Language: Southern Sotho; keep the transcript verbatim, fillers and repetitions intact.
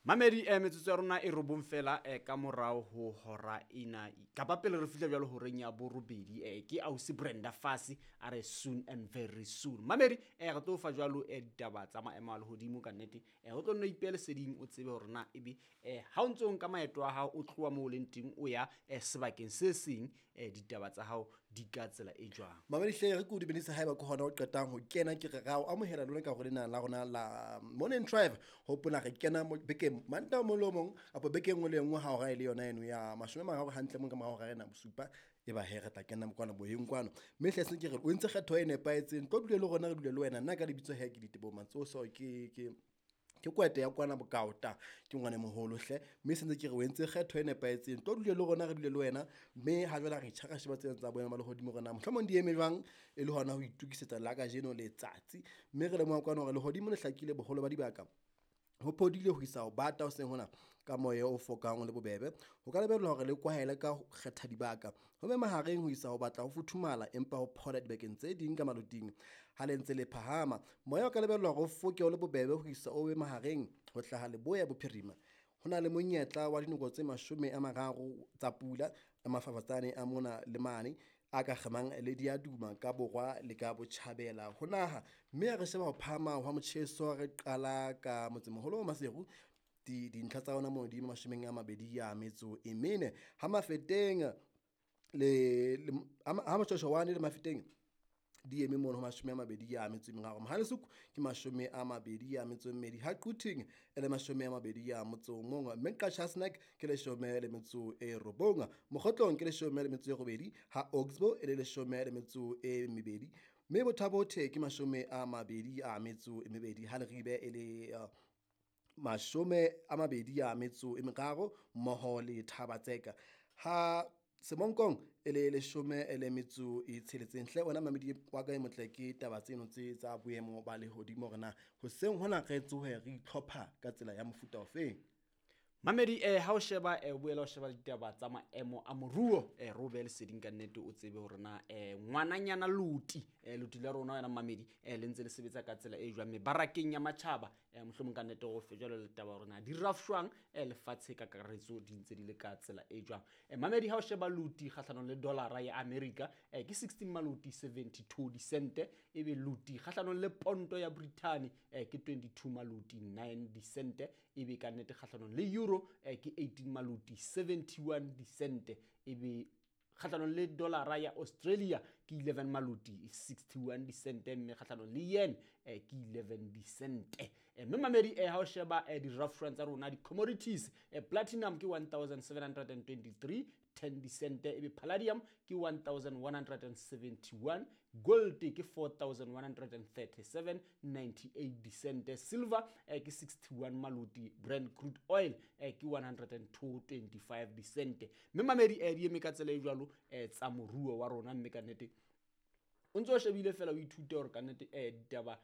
Mamedi, eh, metsotso ya rona e robong fela eh, ka morao ho hora ena, kapa pele re fihla jwalo horeng ya borobedi. eh, ke ausi Brenda Fassie a re soon and very soon. Mamedi, eh, re tlo fa jwalo eh, ditaba tsa maemo a lehodimo ka nnete. eh, o tlo nno ipele seding, o tsebe hore na ebe eh, ha o ntso nka maeto a hao o tloha moo o leng teng o ya eh, sebakeng se seng, eh, ditaba tsa hao di ka tsela e jwang. Mamedi hle, re ke o dumedise haeba ke hona o qetang ho kena, ke re ra o amohela lona ka hore lena la rona la Morning Drive. Hopola re kena mo bekeng Mantaha o mong le o mong kapa bekeng nngwe le nngwe ha hora e le yona eno ya mashome a mararo hantle mong ka mora hora ena bosupa, e ba he re tla kena kwana boyeng kwano. Mme hle se ke re o entse kgetho e nepahetseng, tlo dule le rona, re dule le wena. Nna ka lebitso he ke Diteboho Matsoso, ke ke ke kwete ya kwana Bokaota, ke ngwana moholo hle. Mme se ntse ke re o entse kgetho e nepahetseng, tlo dule le rona, re dule le wena. Mme ha jwale re itjhara sheba tsena tsa boemo ba lehodimo rona mohlomong di eme jwang, e le hona ho itokisetsa la kajeno letsatsi. Mme re lemoha kwana hore lehodimo le hlakile boholo ba dibaka, ho phodile ho isa ho bata hoseng hona ka moya o fokang o le bobebe. Ho ka lebellwa hore le kwahele ka ho kgetha dibaka, ho be mahareng ho isa ho batla ho futhumala, empa ho phola dibakeng tse ding ka maloting. Ha le ntse le phahama, moya o ka lebellwa hore o foke o le bobebe ho isa o be mahareng ho hlaha leboya bophirima. Ho na le monyetla wa dinoko tse mashome a mararo tsa pula, mafafatsane a mona le mane a ka kgemang le diaduma ka borwa le ka botjhabela ho naha. Mme ha re sheba ho phahama hwa motjheso, re qala ka motsemoholo wa Maseru, di dintlha tsa ona moo di mashomeng a mabedi a metso e mene. Ha Mafeteng le, le ha Moshoeshoane le Mafeteng di eme mono ho mashome a mabedi a metso e meraro. Mohalesuku ke mashome a mabedi a metso e mmedi. Ha Quthing e le mashome a mabedi a motso o mong. Mme Qacha's Nek ke leshome le metso e robong. Mokgotlong ke leshome le metso e robedi. Ha Oxbow e le leshome le metso e mebedi. Mme Botha-Bothe ke mashome a mabedi a metso e mebedi. Ha Leribe e le uh, mashome a mabedi a metso e meraro mmoho le Thaba-Tseka. Ha Semonkong e le leshome le metso e tsheletseng. Hle wena mamedi wa ka e motle, ke taba tseno tse tsa boemo ba lehodimo hore na hoseng hona re tsohe re itlhopha ka tsela ya mofuta ofeng. Mamedi, eh, ha o sheba, eh, o boela o sheba ditaba tsa maemo a moruo, eh, re o behe leseding ka nnete, o tsebe hore na, eh, ngwananyana loti, eh, loti la rona wena mamedi, eh, le ntse le sebetsa ka tsela e jwang mebarakeng ya matjhaba, eh, mohlomong ka nnete o fe jwalo le taba hore na di rafshwang, eh, lefatshe ka kakaretso di ntse di le ka tsela e jwang. Eh, mamedi, ha o sheba loti kgahlanong le dollara ya America, eh, ke sixteen maloti seventy-two disente, ebe loti kgahlanong le ponto ya Britain, eh, ke twenty-two maloti nine disente, ebe ka nnete kgahlanong le euro, eh, ke eighteen maloti seventy-one disente, ebe kgahlanong le dollara ya Australia ke eleven maloti sixty-one disente, mme kgahlanong le yen, eh, ke eleven disente. Eh, mme mamedi, eh, ha o sheba, eh, di-rough tsa rona, di-commodities, eh, platinum ke one thousand seven hundred and twenty-three ten disente, ebe palladium ke one thousand one hundred and seventy-one, gold ke four thousand one hundred and thirty-seven ninety-eight disente, silver, eh, ke sixty-one maloti, Brent crude oil, eh, ke one hundred and two twenty-five disente. Mme mamedi, eh, di eme ka tsela e jwalo, eh, tsa moruo wa rona, mme ka nnete o ntso o shebile fela o ithute hore ka nnete, eh, ditaba,